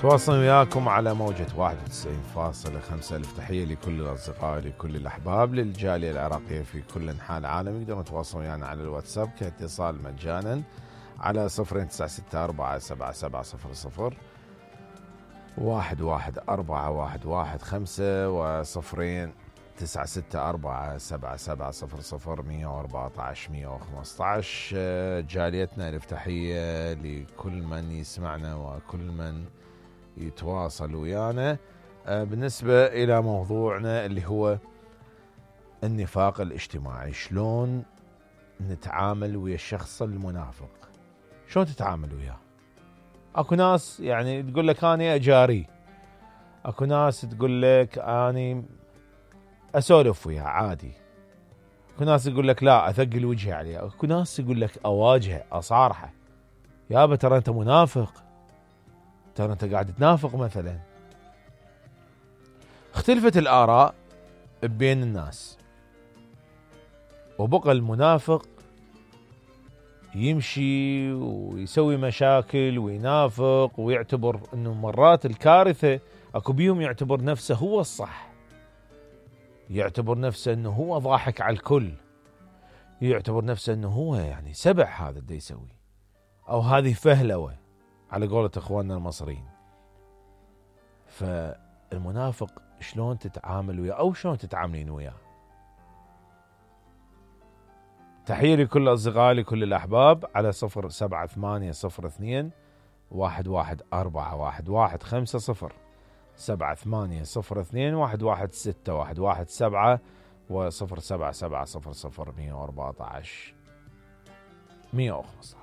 تواصل وياكم على موجة 91.5. ألف تحية لكل الأصدقاء لكل الأحباب للجالية العراقية في كل أنحاء العالم. يقدرون يتواصلون ويانا على الواتساب كاتصال مجانا على 0964777000 1141115 و 0964770014 جاليتنا ألف تحية لكل من يسمعنا وكل من يتواصل ويانا. بالنسبة إلى موضوعنا اللي هو النفاق الاجتماعي، شلون نتعامل ويا الشخص المنافق؟ شلون تتعامل وياه؟ اكو ناس يعني تقول لك اني اجاري، اكو ناس تقول لك اني اسولف وياه عادي، اكو ناس يقول لك لا اثقل وجهي عليه، اكو ناس يقول لك اواجهه اصارحه، يابا ترى انت منافق، ترى انت قاعد تنافق مثلا. اختلفت الآراء بين الناس، وبقى المنافق يمشي ويسوي مشاكل وينافق ويعتبر انه مرات الكارثة اكو بيهم يعتبر نفسه هو الصح، يعتبر نفسه انه هو ضاحك على الكل، يعتبر نفسه انه هو يعني سبع هذا اللي يسوي، او هذه فهلوة على قولة اخواننا المصريين. فالمنافق شلون تتعامل وياه او شلون تتعاملين وياه؟ تحية لكل أصدقائي لكل الأحباب على 0780211415 7802116117 و 0777001415.